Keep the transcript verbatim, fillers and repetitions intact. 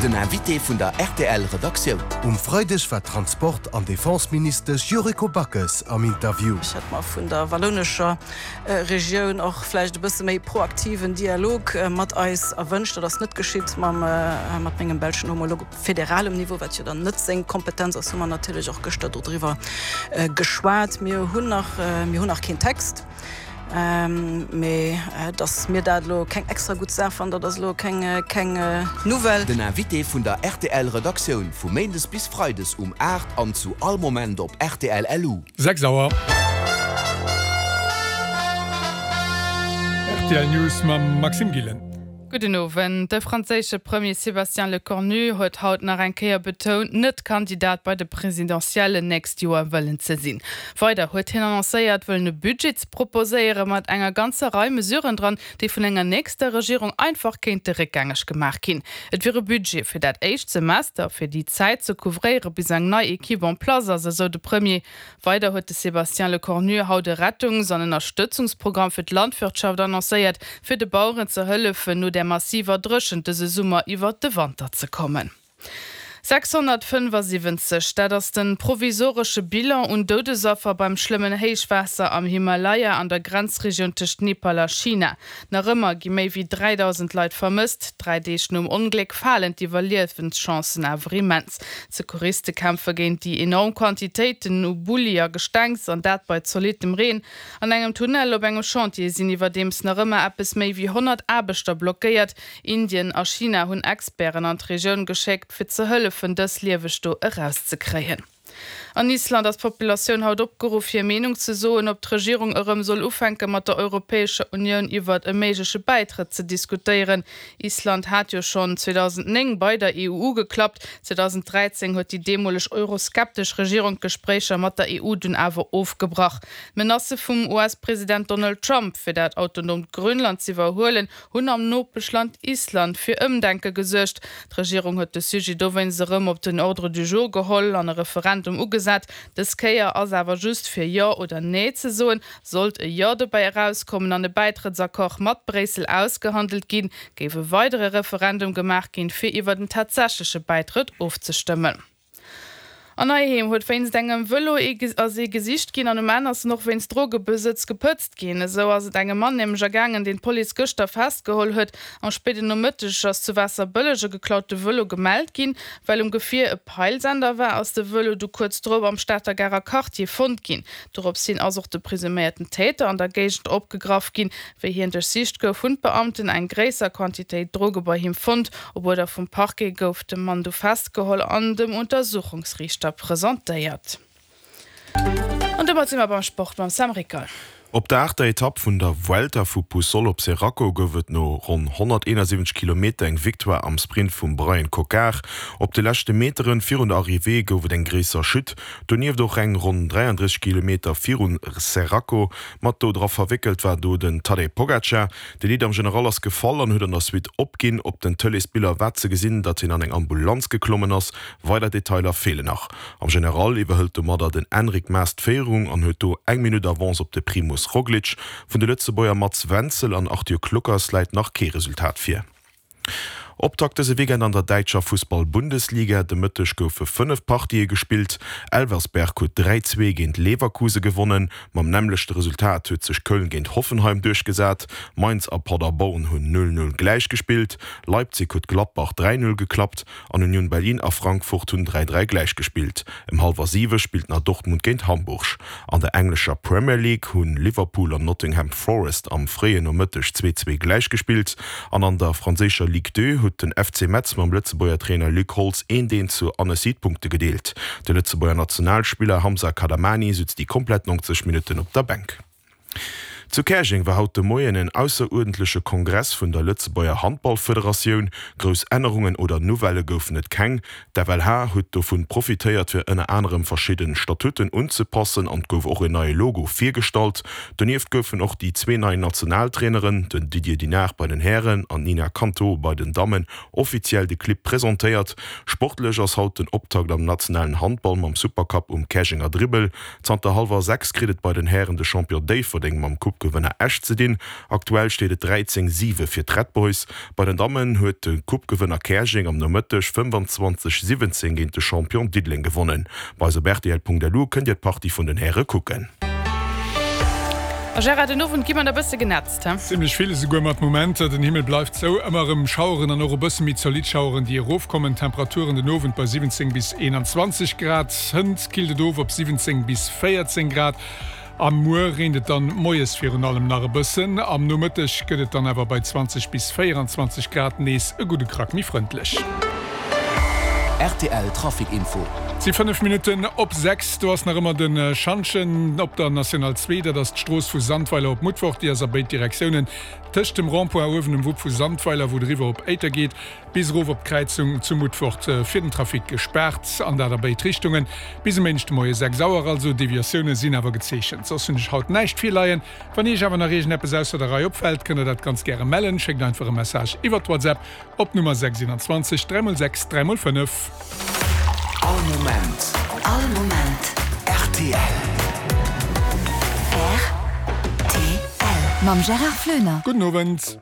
Den Invité vun der R T L Redaktioun. Um Freideg war Transport an Defenseministesch Yuriko Backes am Interview. Ech hätt mer vun der wallounescher Regioun och vläicht e bësse méi proaktiven Dialog mat eis erwënscht. Dat ass net geschitt. Mam mat mengem belschen Homolog op federalem Niveau, wat jo dann net seng Kompetenz ass, hu mer natierlech och gëschter dodriwwer geschwat. Mir hunn nach mir hunn nach keen Text. Mee datt mir dat elo keng extra gutt Saach fannen, dat ass elo keng keng Nouvelle. Den Invité vun der R T L Redaktioun vu méindes bis freides um aacht an zu all Moment op R T L Punkt L U. Sechs Auer. R T L News mam Maxime Gillen. Gudden Owend. De franséische Premier Sébastien Lecornu huet haut nach eng Kéier betount, net Kandidat bei de Presidentiellen nächst Joer wëllen ze sinn. Weider huet hien annoncéiert, wëllen e Budget ze proposéiere mat enger ganzer Rei Mesuren dran, déi vun enger nächster Regierung einfach kéinte réckgängeg gemaach ginn. Et wier e Budget fir dat éischt Semester, fir déi Zäit ze couvréiere bis eng nei Ekipp en place ass, esou de Premier. Weider huet de Sébastien Lecornu haut e Rettungs an Ënnerstëtzungsprogramm fir d'Landwirtschaft annoncéiert, fir de Baueren ze hëllefen, no der massiver Dréchent dëse Summer iwwer de Wanter ze kommen. sechshonnertfënnefasiwwenzeg, dat ass de provisoresche Bilan un Doudesaffer beim schlëmmen Héichwaasser am Himalaya an der Grenzregioun tëscht Nepal a China. Nach ëmmer gi méi wéi dräidausend Leit vermësst. Dräi Deeg nom Ongléck falen d'Iwwerliewenschancen awer immens. D'Secouriste kämpfe géint déi enorm Quantitéiten u Bulli a Gestengs, an dat bei zolittem Reen. An engem Tunnel op engem Chantier sinn iwwerdeems nach ëmmer eppes méi wéi honnert Aarbechter blockéiert. Indien a China hunn Experten an d'Regioun geschéckt, fir ze hëllefen, dës lieweg do erauszekréien. An Island ass d'Populatioun haut opgeruff, hir Meenung ze soen, ob d'Regierung erëm soll ufänke mat der Europäescher Unioun iwwert e méigleche Bäitrëtt ze diskutéieren. Island hat jo schonn zweedausendnéng bei der E U ugeklappt. zweedausendräizéng huet déi deemoleg euroskeptesch Regierung d'Gespréicher mat der E U dunn awer ofgebrach. D'Menacë vum U S-President Donald Trump, fir dat autonoomt Grönland z'iwwerhuelen, hunn am Nopeschland Island fir Ëmdenke gesuergt. D'Regierung huet de Sujet dowéinst erëm op den Ordre du jour geholl an e Referendum ugesat. Dës Kéier ass awer just fir Jo oder Nee ze soen. Sollt e Jo dobäi erauskommen an e Bäitrëttsaccord mat Bréissel ausgehandelt ginn, géif e weidere Referendum gemaach ginn, fir iwwer den tatsächleche Bäitrëtt ofzestëmmen. An Heiheem huet wéinst engem Vëlo ass ee gesicht ginn an um Enn ass en och wéinst Drogebesëtz gepëtzt ginn. Esou ass et engem Mann nämlech ergaangen, deen d'Police gëschter festgeholl huet. Am spéiden Nomëtteg ass zu Waasserbëlleg e geklaute Vëlo gemellt ginn. Well um Gefier e Peilsender war, ass de Vëlo du kuerz drop am Stater Garer Quartier fonnt ginn. Dorops hin ass och de presuméierten Täter an der Géigend opgegraff ginn. Wéi hien duerchsicht gouf, hunn d'Beamten eng gréisser Quantitéit Droge bei him fonnt. Op Uerder vum Parquet gouf de Mann du festgeholl an dem Untersuchungsriichter presentéiert. An domat si mer beim Sport mam Sam Rickel. Op der aachter Etapp vun der Vuelta vu Puçol op Xeraco gouf et no ronn honnerteenasiwwenzeg Kilometer eng Victoire am Sprint vum Bryan Coquard. Op de leschte Meteren virun der Arrivée gouf et eng gréisser Chute, donieft och eng ronn dräiandrësseg Kilometer virun Xeraco. Mat do dra verwéckelt war do den Tadej Pogacar. De Leader am General ass gefall an huet an der Suite opginn. Op den Tëleesbiller war ze gesinn, datt hien an eng Ambulanz geklommen ass. Weider Detailer feelen nach. Am General iwwerhëlt domadder den Enric Mas d'Féierung an huet do eng Minutt Avance op de Primoz Roglic. Vun de Lëtzebuerger Mats Wenzel an Arthur Kluckers läit nach kee Resultat vir. Optakt dëse Weekend an der däitscher Fussball-Bundesliga, De Mëtteg goufe fënnef Partië gespillt. Elversberg huet dräi, zwee géint Leverkuse gewonnen. Mam nämmlechte Resultat huet sech Köln géint Hoffenheim duerchgesat. Mainz a Paderborn hunn null, null gläichgespillt. Leipzig huet Gladbach dräi, null geklappt an Union Berlin a Frankfurt hunn dräi, dräi gläichgespillt. Ëm hallwer siwe spillt nach Dortmund géint Hamburg. An der englescher Premier League hunn Liverpool an Nottingham Forest am fréien Nomëtteg zwee, zwee gläichgespillt an an der franséischer Ligue deux huet den F C Metz mam Lëtzebuerger Trainer Luc Holtz eent eent zu Annecy d'Punkte gedeelt. De Lëtzebuerger Nationalspiller Hamza Kadamani sutz déi komplett neunzeg Minutten op der Bänk. Zu Käerjeng war haut de Moien en ausseruerdentleche Kongress vun der Lëtzebuerger Handballfederatioun. Grouss Ännerungen oder Nouvellë goufen et keng. D'F L H huet dovun profitéiert fir ënner anerem verschidde Statuten unzepassen an et gouf och en neie Logo virgestallt. Donieft goufen och déi zwee nei Nationaltraineren, den Didier Dinart bei den Hären an d'Nina Canto bei den Dammen, offiziell de Clibb presentéiert. Sportlech ass haut den Optakt am nationalen Handball mam Supercup um Käerjenger Dribbel. Zanter hallwer sechs kritt et bei den Hären de Champion Déifferdeng mam Coupe Coupe-Gewënner Esch ze dinn. Aktuell steet et dräizéng, siwe fir d'Red Boys. Bei den Dammen huet de Coupe-Gewënner Käerjeng am Nomëtteg fënnefanzwanzeg, siwwenzéng géint de Champion Diddeleng gewonnen. Bei eis op rtl.lu kënnt Dir d'Partie vun den Häre kucken. A Gérard, den Owend gi mer e bësse genätzt, he? Zimlech vill esouguer mat Momenter. Den Himmel bleift zou, ëmmer erëm Schaueren an och e bësse méi zolidd Schaueren, déi erofkommen. Temperaturen den Owend bei siwwenzéng bis eenanzwanzeg Grad, hënt killt et of op siwwenzéng bis véierzéng Grad. A muer reent et dann moies virun allem nach e bëssen, am Nomëtteg gëtt et dann awer bei zwanzeg bis véieranzwanzeg Grad nees e gudde Krack méi frëndlech. Rtl Trafic Info. Et si fënnef Minutten op sechs. Do ass nach ëmmer de Schantjen op der National zwee. Dat ass d'Strooss vu Sandweiler op Mutfort. Déi ass a béid Direktiounen tëscht dem Rond-point uewen um Wupp vu Sandweiler, wou et eriwwer op Éiter geet, bis erof op d'Kräizung zu Mutfort fir den Trafic gespaart. An dat a béid Richtungen bis e Méindeg de Moie sechs Auer. Also Deviatioune sinn awer gezeechent. Soss hunn ech haut näischt virleien. Wann Iech awer nach iergendeppes ausser der Rei opfält, kënnt der dat ganz gäre mellen. Schéckt einfach e Message iwwert WhatsApp op d'Nummer sechs eenanzwanzeg dräi mol sechs dräi mol fënnef. All Moment. All Moment. Rtl. Rtl. Mam Gérard Floener. Gudden Owend.